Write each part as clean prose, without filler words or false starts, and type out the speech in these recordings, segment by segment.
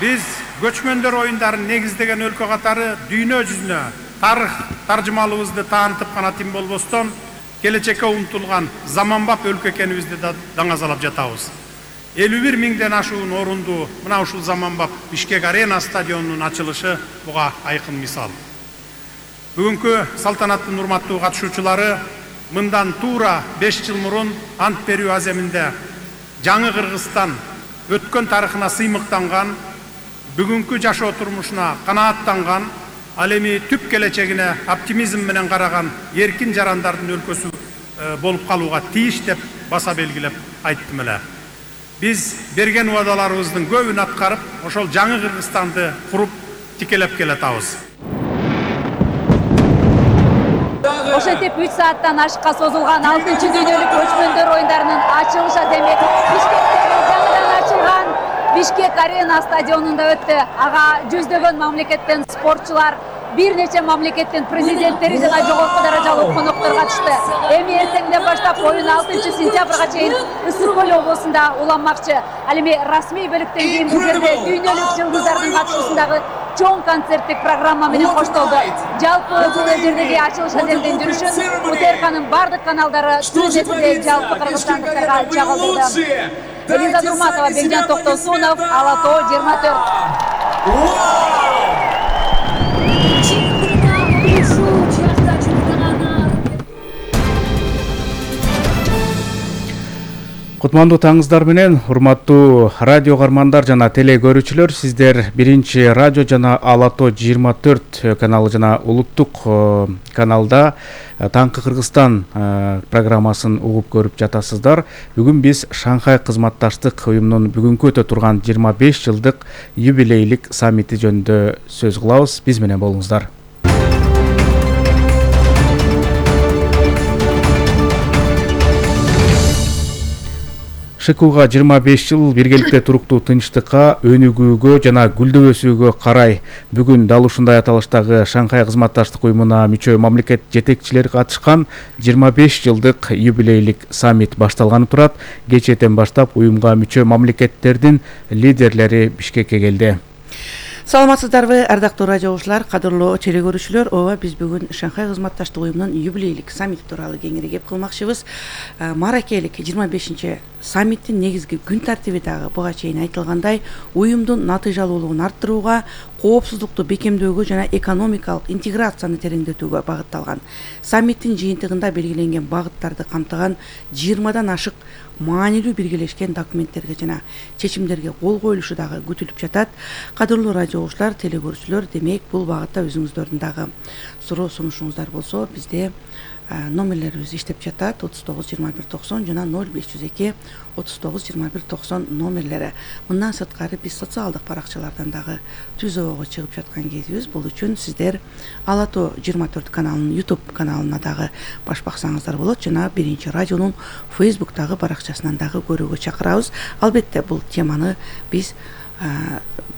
Биз көчмөндөр оюндарын негиздеген өлкө катары дүйнө жүзүнө тарых таржымалыбызды таанытып гана тим болбостон келечекке умтулган заманбап өлкө экенибизди да даңазалап жатабыз. 51 миңден ашуун орунду мына ушул заманбап Бишкек Арена стадионунун ачылышы буга айкын мисал. Бүгүнкү салтанаттын урматтуу катышуучулары мындан туура 5 жыл мурун ант берүү аземинде жаңы Кыргызстан өткөн тарыхына сыймыктанган, бүгүнкү жашоо турмушуна канааттанган, ал эми түп келечегине оптимизм менен караган эркин жарандардын өлкөсү болуп калууга тийиш деп баса белгилеп айттым эле. Биз берген убадаларыбыздын көбүн аткарып, ошол жаңы Кыргызстанды куруп тикелеп келатабыз. Ошентип 3 сааттан ашыкка созулган 6-дүйнөлүк көчмөндөр оюндарынын ачылыш аземи Бишкектеги жаңыдан ачылган Бишкек Арена стадионунда өттү. Ага жүздөгөн мамлекеттен спортчулар, бир нече мамлекеттин президенттери жана жогорку даражалуу коноктор катышты. Эми эртеңден баштап оюн 6 сентябрга чейин Ысык Көл облусунда уланмакчы. Ал эми расмий бөлүктөн кийин бул жерде дүйнөлүк жылдыздардын катышуусундагы чоң концерттик программа менен коштолду. Жалпы бул жердеги ачылыш аземдин жүрүшүн УТРКнын бардык каналдары түз эфирде жалпы кыргызстандыктарга чагылдырды. Элиза Нурматова, Бекжан Токтосунов, Ала Тоо 24. Кутмандуу таңыздар менен, урматтуу радио кармандар жана теле көрүүчүлөр, сиздер биринчи радио жана Ала Тоо 24 каналы жана улуттук каналда Таңкы Кыргызстан программасын угуп көрүп жатасыздар. Бүгүн биз Шанхай кызматташтык уюмунун бүгүнкү өтө турган 25 жылдык юбилейлик саммити жөнүндө сөз кылабыз. Биз менен болуңуздар. ШКУга 25 жыл биргеликте туруктуу тынчтыкка, өнүгүүгө жана гүлдөп өсүүгө карай бүгүн дал ушундай аталыштагы Шанхай кызматташтык уюмуна мүчө мамлекет жетекчилери катышкан 25 жылдык юбилейлик саммит башталганы турат. Кечээден баштап уюмга мүчө мамлекеттердин лидерлери Бишкекке келди. Саламатсыздарбы, ардактуу радио угуучулар, кадырлуу теле көрүүчүлөр. Ооба, биз бүгүн Шанхай кызматташтык уюмунун юбилейлик саммити тууралуу кеңири кеп кылмакчыбыз. Маракелик 25 саммиттин негизги күн тартиби дагы буга чейин айтылгандай уюмдун натыйжалуулугун арттырууга, коопсуздукту бекемдөөгө жана экономикалык интеграцияны тереңдетүүгө багытталган. Саммиттин жыйынтыгында белгиленген багыттарды камтыган 20дан ашык маанилүү биргелешкен документтерге жана чечимдерге кол коюлушу дагы күтүлүп жатат. Кадырлуу радио угуучулар, теле көрүүчүлөр, демек бул багытта өзүңүздөрдүн дагы суроо сунушуңуздар болсо, бизде номерлерибиз иштеп жатат. 39 21 90 жана 0502 39 21 90 номерлери. Мындан сырткары биз социалдык баракчалардан дагы түзөөгө чыгып жаткан кезибиз. Бул үчүн сиздер Ала Тоо 24 каналынын YouTube каналына дагы баш баксаңыздар болот, жана биринчи радионун Facebook'тагы баракчасынан дагы көрүүгө чакырабыз. Албетте бул теманы биз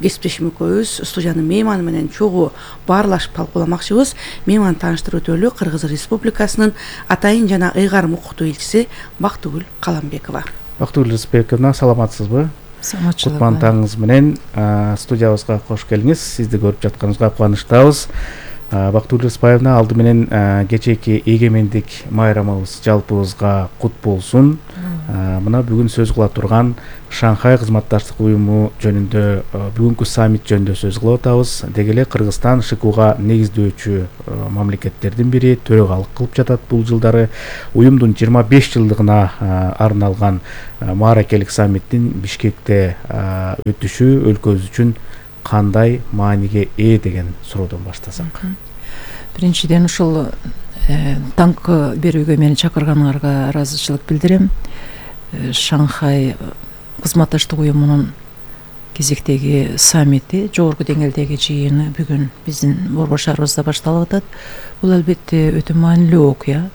кесиптешим экөөбүз студиянын мейманы менен чогуу баарлашып талкууламакчыбыз. Мейман тааныштырып өтөлү, Кыргыз Республикасынын Атайын жана Ыйгарым укуктуу элчиси Бактыгүл Каламбекова. Бактыгүл Рыспековна, саламатсызбы? Саламатчылык. Кутман таңыңыз менен студиябызга кош келиңиз. Сизди көрүп жатканыбызга кубанычтабыз. Бактыгүл Рыспаевна, алды менен кечээки эгемендик майрамыбыз жалпыбызга кут болсун. Мына бүгүн сөз кыла турган Шанхай кызматташтык уюму жөнүндө, бүгүнкү саммит жөнүндө сөз кылып атабыз. Деги эле Кыргызстан ШКУга негиздөөчү мамлекеттердин бири, төрөгалык кылып жатат бул жылдары. Уюмдун 25 жылдыгына арналган мааракелик саммиттин Бишкекте өтүшү өлкөбүз үчүн кандай мааниге ээ деген суроодон баштасак. Биринчиден ушул таңкы берүүгө мени чакырганыңарга ыраазычылык билдирем. Шанхай кызматташтык уюмунун кезектеги саммити, жогорку деңгээлдеги жыйыны бүгүн биздин борбор шаарыбызда башталып атат. Бул албетте өтө маанилүү окуя.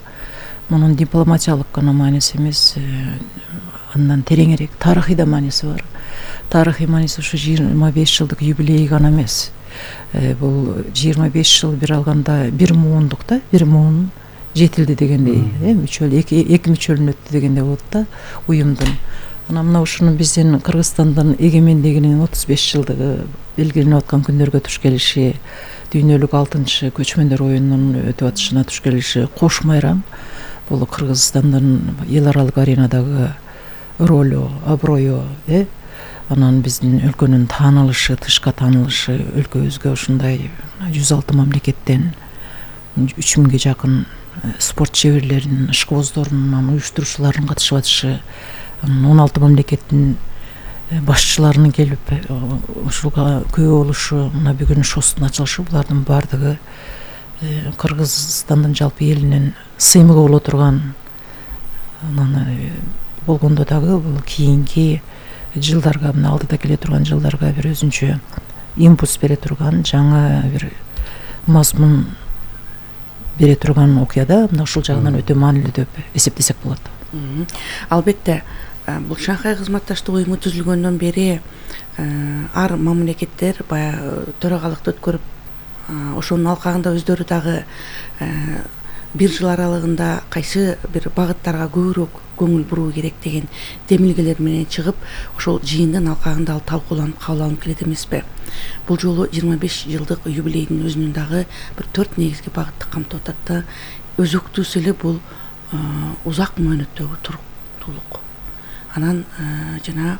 Мунун дипломатиялык гана мааниси эмес, андан тереңирээк тарыхый да мааниси бар. Тарыхый мааниси ушу 25 жылдык юбилей гана эмес. Бул 25 жыл бир алганда бир муундук да, бир муун жетилди дегендей, мүчөл эки мүчөлүнүп өттү дегендей болот да уюмдун. Анан мына ушуну биздин Кыргызстандын эгемендигинин 35 жылдыгы белгиленип аткан күндөргө туш келиши, дүйнөлүк 6-чы көчмөндөр оюнунун өтүп атышына туш келиши кош майрам бул Кыргызстандын эл аралык аренадагы ролу, аброю, анан биздин өлкөнүн таанылышы, тышка таанылышы, өлкөбүзгө ушундай 106 мамлекеттен 3000ге жакын спорт чеберлеринин, ишкыбоздорунун, уюштуруучуларынын катышып атышы, 16 мамлекеттин башчыларынын келип ушуга күбө болушу, мына бүгүн шостун ачылышы, булардын баардыгы Кыргызстандын жалпы элинин сыймыгы боло турган, анан болгондо дагы бул кийинки жылдарга, мына алдыда келе турган жылдарга бир өзүнчө импульс бере турган, жаңы бир мазмун бере турган окуяда, мына ушул жагынан өтө маанилүү деп эсептесек болот. Албетте, бул Шанхай кызматташтык уюму түзүлгөндөн бери ар мамлекеттер баягы төрагалыкты өткөрүп, ошонун алкагында өздөрү дагы бир жыл аралыгында кайсы бир багыттарга көбүрөөк көңүл буруу керек деген демилгелер менен чыгып, ошол жыйындын алкагында ал талкууланып кабыл алынып келет эмеспи? Бул жолу 25 жылдык юбилейдин өзүнүн дагы бир 4 негизги багытты камтып атат да. Өзөктүүсү эле бул узак мөөнөттөгү туруктуулук. Анан жана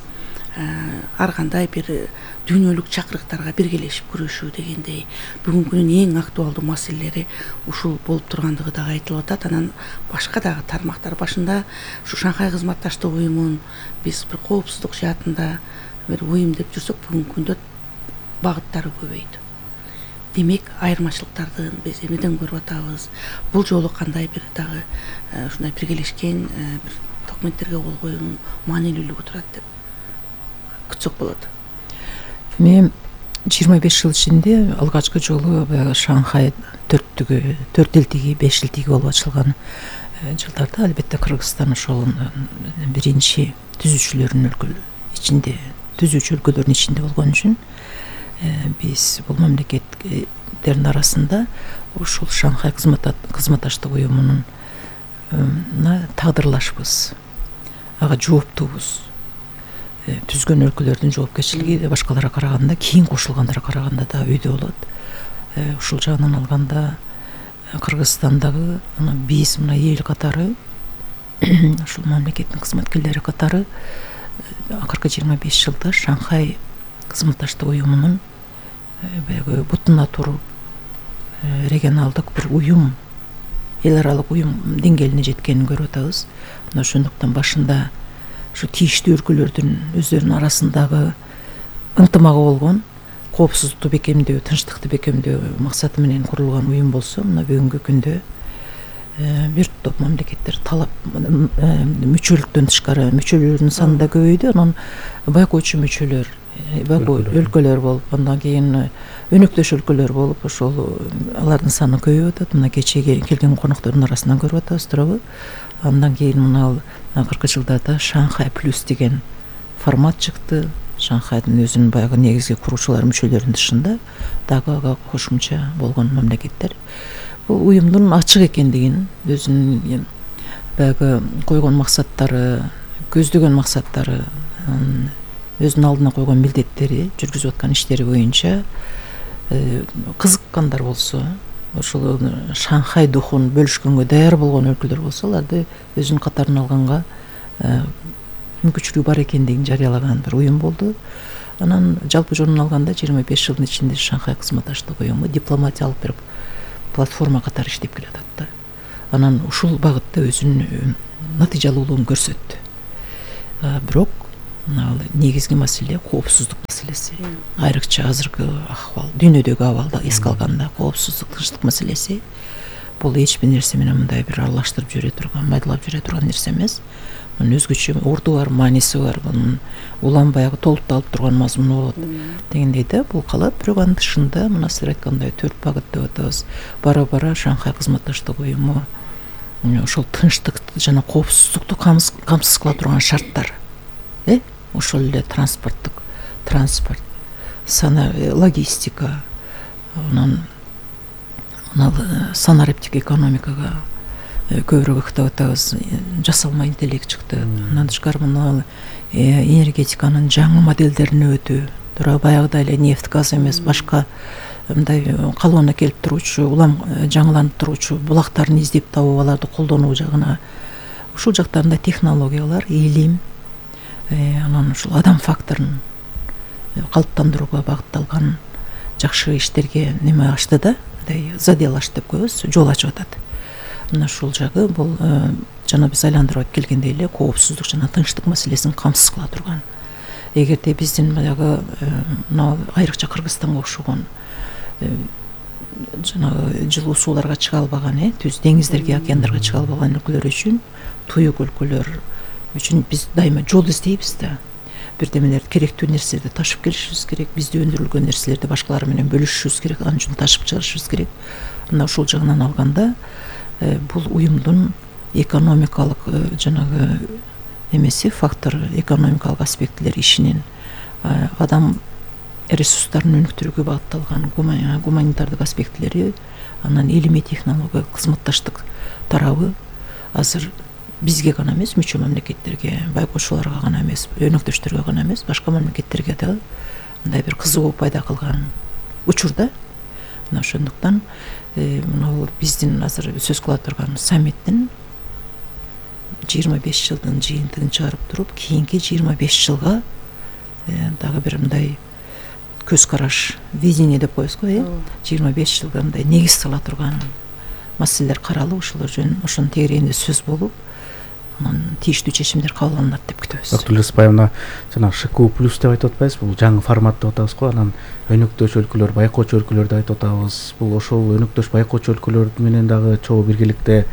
ар кандай бир дүйнөлүк чакырыктарга биргелешип күрөшүү дегендей бүгүнкү күнүн эң актуалдуу маселелери ушул болуп тургандыгы дагы айтылып атат. Анан башка дагы тармактар башында ушу Шанхай кызматташтык уюмун биз бир коопсуздук жаатында бир уюм деп жүрсөк, бүгүнкү күндө багыттары көбөйдү. Демек, айырмачылыктарды биз эмнеден көрүп атабыз? Бул жолу кандай бир дагы ушундай биргелешкен бир документтерге кол коюунун маанилүүлүгү турат деп күтсөк болот. Мен 25 жыл ичинде алгачкы жолу баягы Шанхай 4 элтиги, 5 элтиги болуп ачылган жылдарда албетте Кыргызстан ошол биринчи түзүүчүлөрдүн өлкөлөрдүн ичинде болгон үчүн биз бул мамлекеттердин арасында ушул Шанхай кызматташтык уюмунун тагдырлашпыз, ага жооптуубуз. Түзгөн өлкөлөрдүн жоопкерчилиги башкаларга караганда, кийин кошулгандарға караганда да өйдө болот. Ушул жагынан алганда Кыргызстандагы биз мына эл катары, ушул мамлекеттин кызматкерлери катары акыркы 25 жылда Шанхай кызматташтык уюмунун баягы бутуна туруп регионалдык бир уюм, эл аралык уюм деңгээлине жеткенин көрүп атабыз. Мына ошондуктан башында ушу тийиштүү өлкөлөрдүн өздөрүнүн арасындагы ынтымагы болгон, коопсуздукту бекемдөө, тынчтыкты бекемдөө максаты менен курулган уюм болсо, мына бүгүнкү күндө бир топ мамлекеттер талап мүчөлүктөн тышкары мүчөлөрдүн саны да көбөйдү. Анан байкоочу мүчөлөр, өлкөлөр болуп, андан кийин өнөктөш өлкөлөр болуп, ошол алардын саны көбөйүп атат. Мына кечеге келген коноктордун арасынан көрүп атабыз, туурабы? Андан кийин мына акыркы жылдарда Шанхай плюс деген формат чыкты. Шанхайдын өзүнүн баягы негизги куруучулар мүчөлөрүнүн дышында дагы ага кошумча болгон мамлекеттер бул уюмдун ачык экендигин, өзүнүн баягы койгон максаттары, көздөгөн максаттары, өзүнүн алдына койгон милдеттери, жүргүзүп аткан иштери боюнча кызыккандар болсо, ошол Шанхай духун бөлүшкөнгө даяр болгон өлкөлөр болсо, аларды өзүнүн катарына алганга мүмкүнчүлүгү бар экендигин жарыялаган бир уюм болду. Анан жалпы жонун алганда 25 жылдын ичинде Шанхай кызматташтык уюму дипломатиялык бир платформа катары иштеп келатат да. Анан ушул багытта өзүнүн натыйжалуулугун көрсөттү. Бирок негизги маселе коопсуздук маселеси. Айрыкча азыркы акыбал, дүйнөдөгү абалда эске алганда коопсуздук, тынчтык маселеси бул эч бир нерсе менен мындай бир аралаштырып жүрө турган, майдалап жүрө турган нерсе эмес. Мунун өзгөчө орду бар, мааниси бар, мунун улам-баягы толукталып турган мазмуну болот дегендей да. Бул калат, бирок анын тышында мына силер айткандай 4 багыт деп атабыз. Бара-бара Шанхай кызматташтык уюму ошол тынчтыкты жана коопсуздукту камсыз кыла турган шарттар, ошол эле транспорт, логистика, анан санариптик экономикага көбүрөөк ыктап атабыз. Жасалма интеллект чыкты. Андан тышкары мына энергетиканын жаңы моделдерин өтүү, тура баягыдай эле нефть, газ эмес, башка мындай калыбына келип туруучу, улам жаңыланып туруучу булактарын издеп табып аларды колдонуу жагына, ушул жактарында технологиялар, илим, анан ушул адам факторун калыптандырууга багытталган жакшы иштерге неме ачты да, мындай задел ачты деп коебуз, жол ачып атат. Мына ушул жагы бул жана биз айландырып келгендей эле коопсуздук жана тынчтык маселесин камсыз кыла турган. Эгерде биздин баягы мына айрыкча Кыргызстанга окшогон жанагы жылуу сууларга чыга албаган, түз деңиздерге, океандарга чыга албаган өлкөлөр үчүн, туюк өлкөлөр үчүн биз дайыма жол издейбиз да. Бирдемелерди, керектүү нерселерди ташып келишибиз керек, бизде өндүрүлгөн нерселерди башкалар менен бөлүшүшүбүз керек, анын үчүн ташып чыгарышыбыз керек. Мына ушул жагынан алганда бул уюмдун экономикалык жанагы эмеси, фактор, экономикалык аспектилер ишинин адам ресурстарын өнүктүрүүгө багытталган гуманитардык аспектилери, анан илимий технологиялык кызматташтык тарабы азыр бизге гана эмес, мүчө мамлекеттерге, байкоочуларга гана эмес, өнөктөштөргө гана эмес, башка мамлекеттерге да мындай бир кызыгуу пайда кылган учурда. Мына ошондуктан мына биздин азыр сөз кыла турган саммиттин 25 жылдын жыйынтыгын чыгарып туруп, кийинки 25 жылга дагы бир мындай көз караш, видение деп коебуз го, 25 жылга мындай негиз сала турган маселелер каралып, ошолор жөнүндө ошонун тегерегинде сөз болуп, анан тийиштүү чечимдер кабыл алынат деп күтөбүз. Бактылуу Леспаевна, жана ШКУ+ деп айтып атпайбызбы? Бул жаңы формат деп атабыз го. Анан өнөктөш өлкөлөр, байкоочу өлкөлөрдү айтып атабыз. Бул ошол өнөктөш байкоочу өлкөлөр менен дагы чогуу биргеликте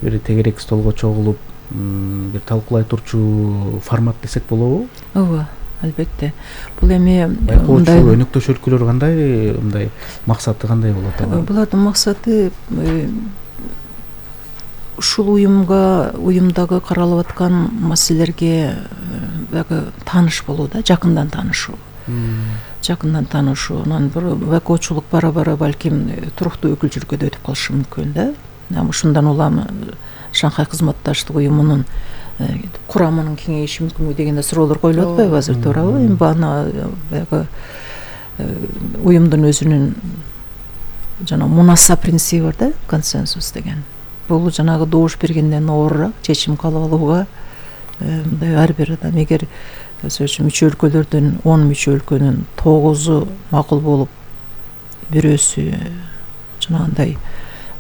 бир тегерек столго чогулуп, бир талкуулай турчу формат десек болобу? Ооба, албетте. Бул эми байкоочу өнөктөш өлкөлөр кандай, мындай максаты кандай болот алар? Булардын максаты ушул уюмдагы каралып аткан маселелерге тааныш болуу да, жакындан таанышуу. Жакындан таанышуу, анан бир байкоочулук бара-бара балким туруктуу өкүлчүлүккө да өтүп калышы мүмкүн да. Ушундан улам Шанхай кызматташтык уюмунун курамынын кеңейиши мүмкүнбү деген суроолор коюлуп атпайбы азыр, туурабы? Эми бана баягы уюмдун өзүнүн жана мунаса принциби бар да, консенсус деген. Бул жанагы добуш бергенден оорураак чечим кабыл алууга мындай ар бир адам, эгер мүчө өлкөлөрдүн 10 мүчө өлкөнүн 9-у макул болуп, бирөөсү жанагындай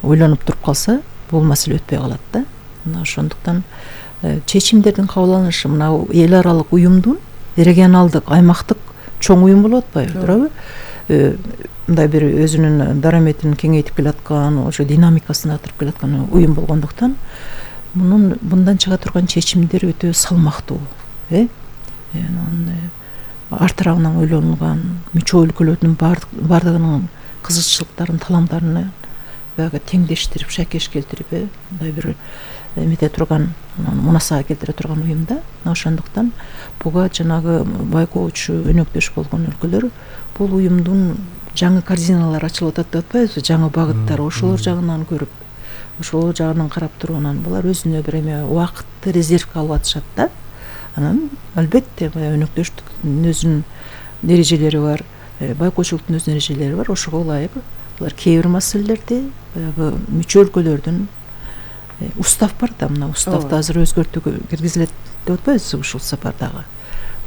ойлонуп туруп калса, бул маселе өтпөй калат да. Мына ошондуктан чечимдердин кабыл алынышы мына эл аралык уюмдун регионалдык, аймактык чоң уюм болуп атпайбы, туурабы? Мындай бир өзүнүн дараметин кеңейтип келаткан, ошо динамикасын арттырып келаткан уюм болгондуктан мындан чыга турган чечимдер өтө салмактуу, ар тарабынан ойлонулган, мүчө өлкөлөрдүн бардыгынын кызыкчылыктарын, таламдарын баягы теңдештирип, шакеш келтирип, мындай бир эмете турган, мунасага келтире турган уюм да. Ошондуктан буга жанагы байкоочу өнөктөш болгон өлкөлөр бул уюмдун жаңы координалары ачылып атат деп атпайбызбы, жаңы багыттар, ошолор жагынан көрүп, ошол жагынан карап туруудан булар өзүнө бир эме убакытты резервге алып атышат да. Анан албетте өнөктөштүктүн өзүнүн эрежелери бар, байкоочулуктун өзүнүн эрежелери бар, ошого ылайык булар кээ бир маселелерди баягы мүчө өлкөлөрдүн устав бар да, мына уставды азыр өзгөртүүгө киргизилет деп атпайбызбы ушул сапардагы.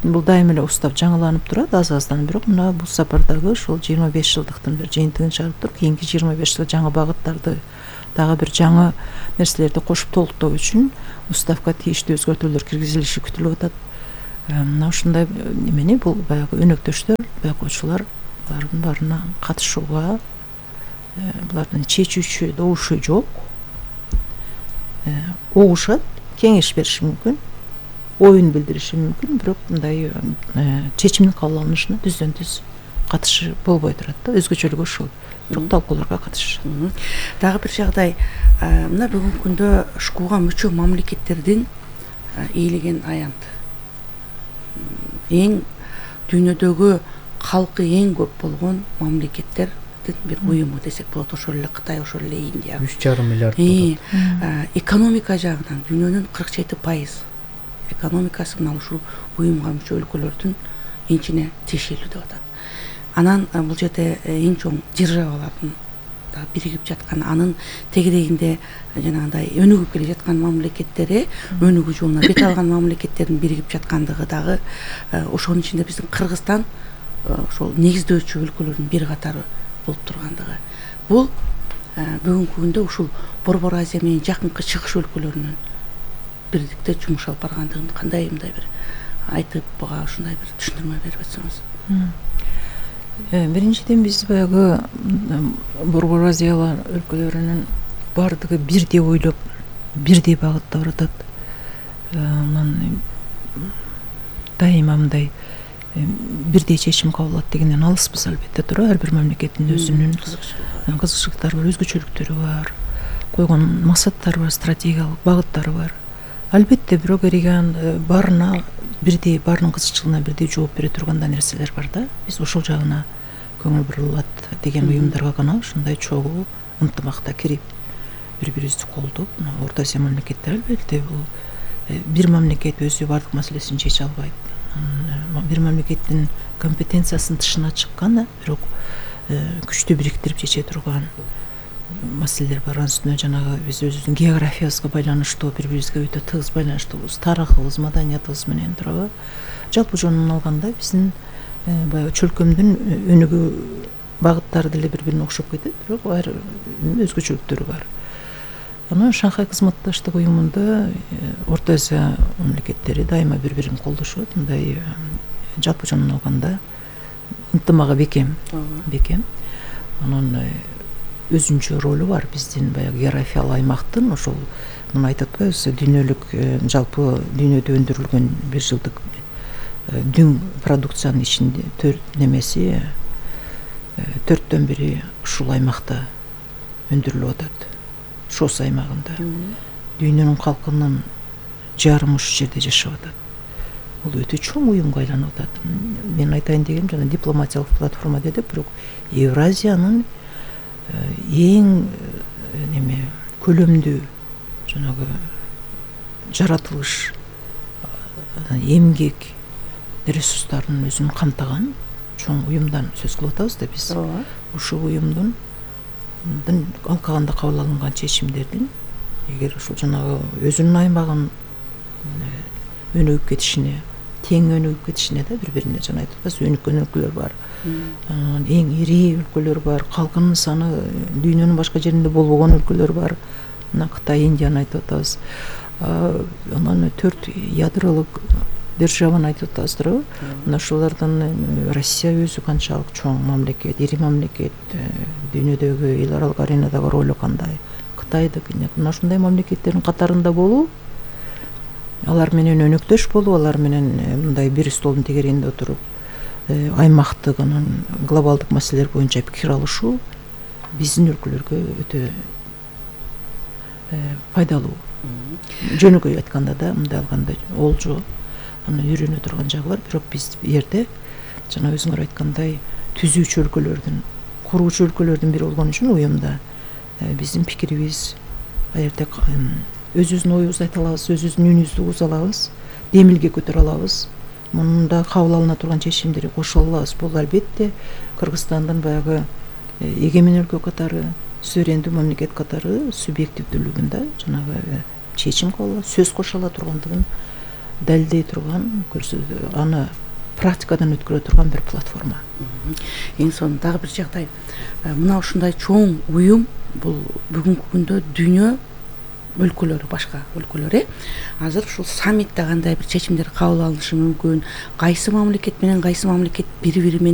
Бул дайыма эле устав жаңыланып турат аз-аздан, бирок мына бул сапардагы ушул 25 жылдыктын бир жыйынтыгын чыгарып туруп, кийинки 25 жылга жаңы багыттарды, дагы бир жаңы нерселерди кошуп толуктоо үчүн уставга тийиштүү өзгөртүүлөр киргизилиши күтүлүп атат. Мына ушундай эмени бул баягы өнөктөштөр, байкоочулар булардын баарына катышууга, булардын чечүүчү добушу жок, угушат, кеңеш бериши мүмкүн, оюн билдириши мүмкүн, бирок мындай чечимдин кабыл алынышына түздөн түз катышы болбой турат да, өзгөчөлүгү ушул. Бирок талкууларга катышышат. Дагы бир жагдай, мына бүгүнкү күндө ШКУга мүчө мамлекеттердин ээлеген аянт, эң дүйнөдөгү калкы эң көп болгон мамлекеттер мамлекеттердин бир уюму десек болот. Ошол эле Кытай, ошол эле Индия. 3,5 миллиард. Экономика жагынан дүйнөнүн 47% экономикасы мына ушул уюмга мүчө өлкөлөрдүн энчине тиешелүү деп атат. Анан бул жерде эң чоң державалардын да биригип жаткан, анын тегерегинде жанагындай өнүгүп келе жаткан мамлекеттери, өнүгүү жолуна бет алган мамлекеттердин биригип жаткандыгы дагы ошонун ичинде биздин Кыргызстан ошол негиздөөчү өлкөлөрдүн бир катары болуп тургандыгы. Бул бүгүнкү күндө ушул Борбор Азия менен жакынкы чыгыш өлкөлөрүнүн бирликте жумуш алып баргандыгын кандай мындай бир айтып буга ушундай бир түшүндүрмө берип атсаңыз. Биринчиден биз баягы Борбор Азия өлкөлөрүнүн баардыгы бирдей ойлоп, бирдей багытта баратат. Анан дайыма мындай бирдей чечим кабыл алат дегенден алыспыз албетте туура. Ар бир мамлекеттин өзүнүн кызыкчылыктары бар, өзгөчөлүктөрү бар, койгон максаттары бар, стратегиялык багыттары бар. Албетте бирок эреген баарына бирдей, баарынын кызыкчылыгына бирдей жооп бере турган нерселер бар да. Биз ошол жагына көңүл бурулат деген уюмдарга гана ушундай чогуу ынтымакта кирип, бири-бирибизди колдоп, Орто Азия мамлекеттери албетте бул бир мамлекет өзү бардык маселесин чече албайт. Бир мамлекеттин компетенциясынын тышына чыккан, бирок күчтү бириктирип чече турган маселелер бар. Анын үстүнө жанагы биз өзүбүздүн географиябызга байланыштуу, бири-бирибизге өтө тыгыз байланыштуубуз, тарыхыбыз, маданиятыбыз менен туурабы. Жалпы жонунан алганда биздин баягы чөлкөмдүн өнүгүү багыттары деле бири-бирине окшоп кетет, бирок ар өзгөчөлүктөрү бар. Анан Шанхай кызматташтык уюмунда Орто Азия мамлекеттери дайыма бири-бирин колдошот. Мындай жалпы жонунан алганда ынтымагы бекем. Анан өзүнчө ролу бар биздин баягы географиялык аймактын, ошол муну айтып атпайбызбы, дүйнөлүк жалпы дүйнөдө өндүрүлгөн бир жылдык дүң продукциянын ичинде 4/4 бири ушул аймакта өндүрүлүп атат. Шос аймагында. Дүйнөнүн калкынын жарымы ушул жерде жашап атат. Бул өтө чоң уюмга айланып атат. Мен айтайын дегеним жана дипломатиялык платформа дедик, бирок Евразиянын эң көлөмдүү жанагы жаратылыш, эмгек ресурстарын өзүн камтаган чоң уюмдан сөз кылып атабыз да биз. Ушул уюмдун алкаганда кабыл алынган чечимдердин эгер ушул жанагы өзүнүн аймагын өнүгүп кетишине, тең өнүгүп кетишине да бири-бирине жана айтып атпайбыз, өнүккөн өлкөлөр бар. Эң ири өлкөлөр бар, калкынын саны дүйнөнүн башка жеринде болбогон өлкөлөр бар. Мына Кытай, Индияны айтып атабыз. Анан 4 ядролук державаны айтып атабыз туурабы? Мына ушулардан Россия өзү канчалык чоң мамлекет, ири мамлекет, дүйнөдөгү эл аралык аренадагы ролу кандай? Кытайдык, мына ушундай мамлекеттердин катарында болуу, алар менен өнөктөш болуу, алар менен мындай бир столдун тегерегинде отуруп, аймактык, анан глобалдык маселелер боюнча пикир алышуу биздин өлкөлөргө өтө пайдалуу. Жөнөкөй айтканда да, мындай алганда олжо, анан үйрөнө турган жагы бар. Бирок биз жерде жана өзүңөр айткандай түзүүчү өлкөлөрдүн, куруучу өлкөлөрдүн бири болгон үчүн уюмда биздин пикирибиз аерде өзүбүздүн оюбузду айта алабыз, өзүбүздүн үнүбүздү угуза алабыз, демилге көтөрө алабыз. Мында кабыл алына турган чечимдерди кошо алабыз. Бул албетте Кыргызстандын баягы эгемен өлкө катары, суверендүү мамлекет катары субъективдүүлүгүндө жанагы чечим кабыл, сөз кошо ала тургандыгын далилдей турган, аны практикадан өткөрө турган бир платформа. Эң сонун дагы бир жагдай. Мына ушундай чоң уюм бул бүгүнкү күндө дүйнө өлкөлөрү, башка өлкөлөр азыр ушул саммитте кандай бир чечимдер кабыл алынышы мүмкүн, кайсы мамлекет менен кайсы мамлекет бири-бири менен